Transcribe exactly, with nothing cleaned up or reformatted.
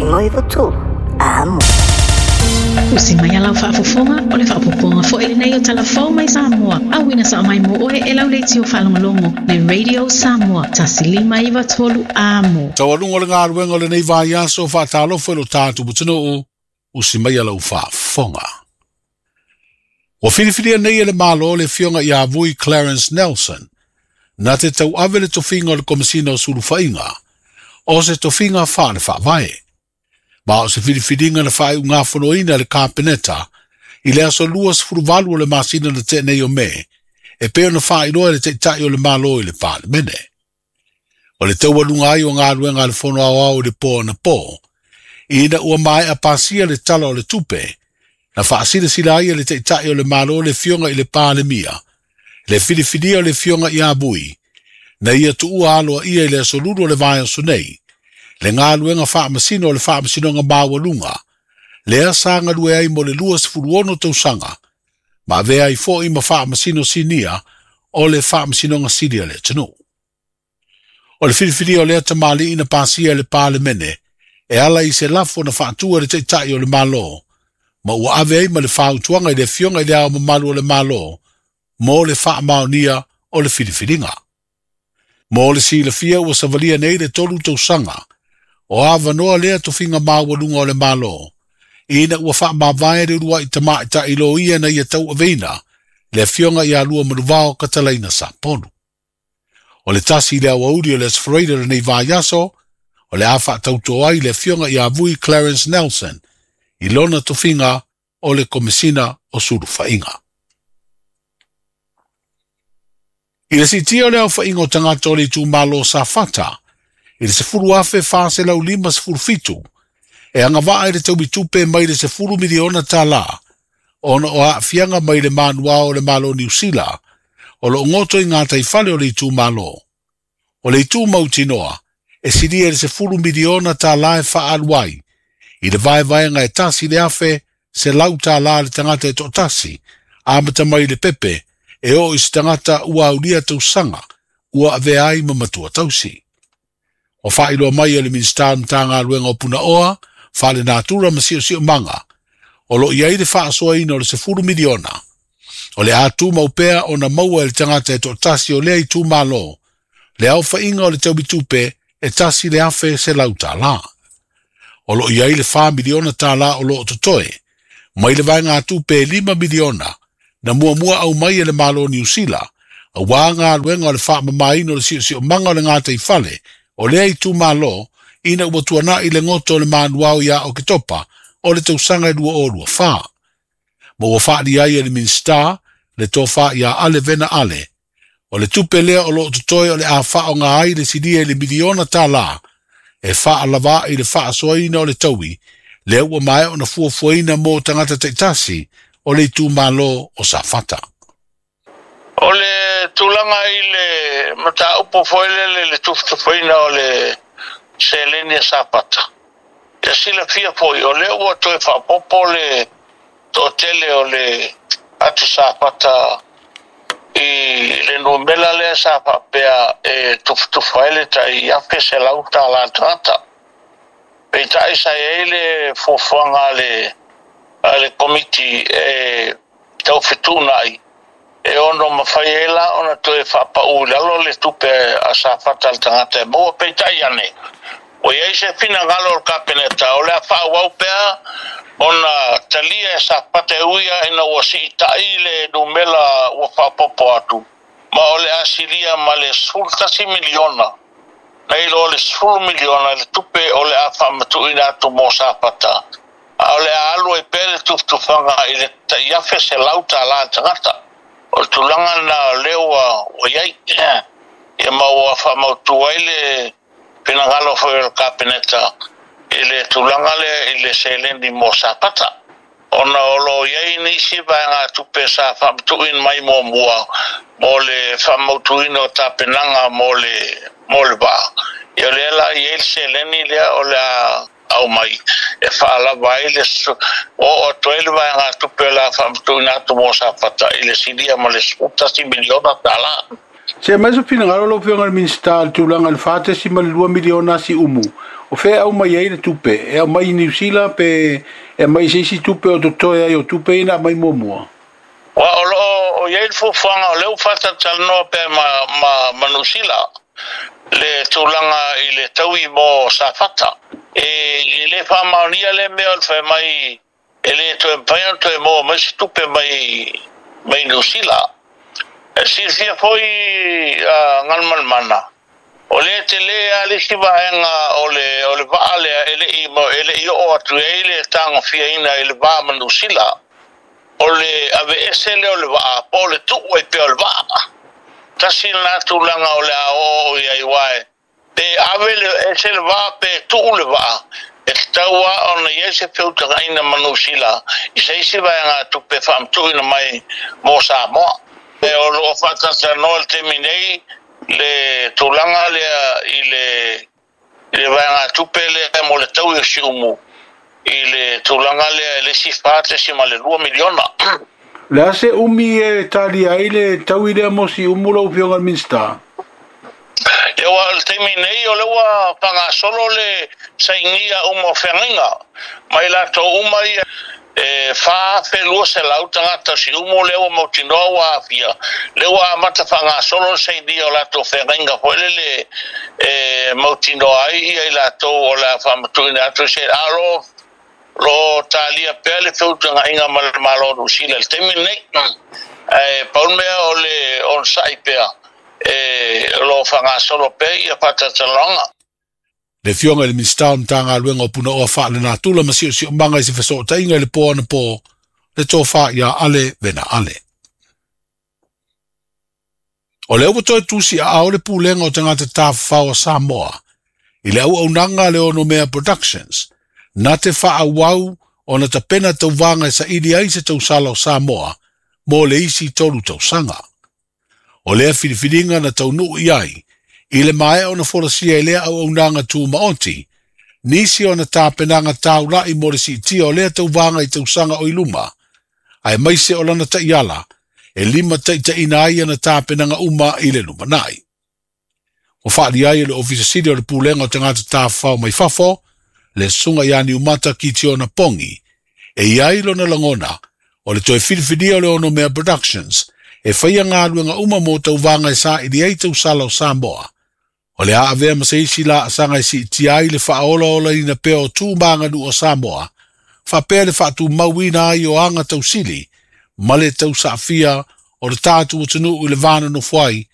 Lima iwa tolu. Amo. Usi mai alau faafofoga o le faapopoga foi lenei o talafou mai Samoa. Auina sa mai mo oe e lau leitio faalogologo le Radio Samoa tasi lima iwa tolu amo. Taualuga o le galuega o lenei vaiaso faatalofa i lo tatou atunuu, usi mai alau faafofoga. Ua filifilia nei e le Malo le afioga ia Vui Clarence Nelson, na te tauave le tofiga o le Komesina o Sulufaiga, o se tofiga faale faavae. Ma o se filifiliga na faaiugafonoina e le Kapeneta i le aso luasefuluvalu o le masina na tea nei o Me, e pei ona faailoa e le taitai o le Malo i le Palemene. O le taualuga ai o galuega a le Fono Aoao i le po anapo, ina ua maea pasia le tala o le tupe, na faasilasila ai e le taitai o le Malo le afioga i le Palemia, le filifilia o le afioga ia Vui, na ia tuua aloaia i le aso lulu o le vaiaso nei, le galuega faamasino o le faamasinoga maualuga, lea sa galue ai mo le luasefuluono tausaga, ma avea ai foi ma faamasino sinia o le faamasinoga sili a le atunuu. O le filifilia o lea tamalii na pasia e le Palemene, e ala i se lafo na faatua e le taitai o le Malo, ma ua ave ai ma le fautuaga i le afioga i le Ao Mamalu o le Malo, mo le faamaonia o le filifiliga. Mo le silafia ua savalia nei le tolu tausaga, o avanoa lea tofiga maualuga o le Malo, ina ua faamavae le uluai tamaʻitaʻi loia na ia tauaveina le afioga ia Luamanuvao Katalaina Sapolu. O le tasi i le aoauli o le Aso Faraile o lenei vaiaso, o le a faatauto ai le afioga ia Vui Clarence Nelson i lona tofiga o le Komesina o Sulufaiga. I le siitia o le aofaiga o tagata o le itumalo Safata, i le sefulu afe faselau lima sefulu fitu, e agavaa i le taumitupe mai le sefulu miliona tālā, ona o aafiaga mai le manuao o le Malo Niu Sila, o loo goto i gataifale o le itumalo. O le itu mautinoa, e silia i le sefulu miliona tālā e faaalu ai, i le vaevaega e tasi le afe selau tālā le tagata e toatasi, amata mai le pepe, e oo i se tagata ua aulia tausaga, ua avea ai ma matua tausi. O faailoa mai e le Minisita o Matagaluega o Punaoa, Faalenatura ma Siosiomaga, o loo i ai le faasoaina o le sefulu miliona. O le a tumau pea ona maua e le tagata e toatasi o lea itumalo, le aofaiga o le taumitupe e tasi le afe selau tālā. O loo i ai le fa miliona tālā o loo totoe, mai le vaegatupe e lima miliona, na muamua au mai e le Malo Niu Sila, auā galuega o le faamamaina o le siosiomaga o le gataifale, o lea itumalo, ina ua tuanaʻi le goto o le manuao ia Oketopa o le tausaga e lua o lua fa. Ma ua faalia ai e le Minisita le tofa ia Ale Vena Ale. O le tupe lea o loo totoe o le a faaoga ai le silia i le miliona tālā, e faalavā i le faasoaina o le taui, lea ua maea ona fuafuaina mo tagata taitasi o le itumalo o Safata. O le tulaga i le mataupu foi lele le tufutufuina o le seleni a Safata. Ia silafia foi, o lea ua toe faapopo le toatele o le atu Safata i le numera lea sa faapea e tufutufu ai le tai afe selau tālā tagata. Peitai sa i ai le fuafuaga a le a le komiti e taufetuunai e ono mafai ai la ona toe faapau i lalo le tupe a Safata le tagata e maua. Peitai ane, ua i ai se finagalo o le Kapeneta o le a faaauau pea ona talia e Safata e uia ina ua siitai le numela ua faapopo atu, ma o le a silia ma le sefulu tasi miliona, nai lo le sefulu miliona le tupe o le a faamatuuina atu mo Safata, a o le a alu ai pea le tufutufaga i le tai afe selau tālā tagata. O le tulaga na o lea ua ua i ai, ia ma ua faamautu ai le finagalo foi o le Kapeneta i le tulaga lea i le seleni mo Safata, ona o loo i ai nisi vaegatupe sa faamatuuina mai muamua mo le faamautuina o tapenaga mo le mo le vaa. Ia o lea la i ai le seleni lea o le a aumai e faalava ai le oo atu ai le vaegatupe o le a faamatuuina atu mo Safata i le silia ma le sefulu tasi miliona tālā. Se mai so finagalo lau afioga i le Minisita le tulaga i le fa tasi ma le lua miliona siumu O fea au mai ai le tupe, e au mai Niu Sila pe e mai se isi tupe o totoe ai o tupe ina mai muamua. Ua o loo o iai le fuafuaga o lea ua faatalatalanoa pea ma, ma, ma Niu Sila le tulaga i le taui mo Safata. E, e lē faamaonia lea mea o le fai mai e lē toe mafai ona toe maua mai se tupe mai mai Niu Sila. E silafia foi uh, Galumalemana o lea telē a le isi vaega o le o le vaa lea e le'i e le'i oo atu ai le tagofiaina i le va ma Niu Sila o le aveese lea o le vaa po o le tuu ai pea o le vaa. Tasi lena tulaga o le a oo i ai uae pe ave le ese le vaa pe tuu le vaa e tatau a ona iai se feutagaina ma Niu Sila i se isi vaega tupe faamatuuina mai mo Samoa. E o loo faatalatalanoa le taimi nei le tulaga lea i le i le vaega tupe lea mo le taui o Siumu i le tulaga lea e le isi fa tesima le lua miliona. Le a se umi e talia ai le taui lea mo Siumu lau Afioga i le Minisita? Ia ua le taimi nei o le ua faagasolo le sainia uma o feagaiga mai latou uma ia e fa afe lua selau tagata o Siumu lea ua mautinoa ua aafia lea ua amata faagasolo le sainia o latou feagaiga foi lele e mautinoa ai ia i latou o le a faamatuuina atu se a o loo talia pea le feutagaiga ma le Malo o Niu Sila i le taimi lenei. Ae pau le mea o le onosai pea e o loo faagasolo pea ia faatalatalanoaga. Le Afioga i le Minisita o Matagaluega o Punaoa Faalenatura ma Siosiomaga i se fesootaiga i le po anapo le tofa ia Ale Vena Ale. O lea ua toe tusi aao le Pulega o Tagata Tafafao a Samoa i le auaunaga le Onomea Productions na te faaauau ona tapena tauvaga e saili ai se tausala o Samoa mo le isi tolu tausaga. O lea filifiliga na taunuu i ai i le maea ona folasia i lea auaunaga tumaoti, nisi ona tapenaga taula'i mo le siitia o lea tauvaga i tausaga o i luma, ae maise o lana ta'iala e lima taʻitaʻina ai ana tapenaga uma i le lumanai. Ua faaalia ai e le Ofisa Sili o le Pulega o Tagata Tafafao mai Fafo, le susuga ia Niumata Kitiona Pongi, e iai lona lagona o le toe filifilia o le Onomea Productions e faia galuega uma mo tauvaga e saili ai tausala o Samoa. O le a avea ma se isi laasaga e siitia ai le faaolaolaina pea o tu ma aganuu o Samoa, faapea le faatumauina ai o aga tausili ma le tausaafia o le tatou atunuu i le va nonofo ai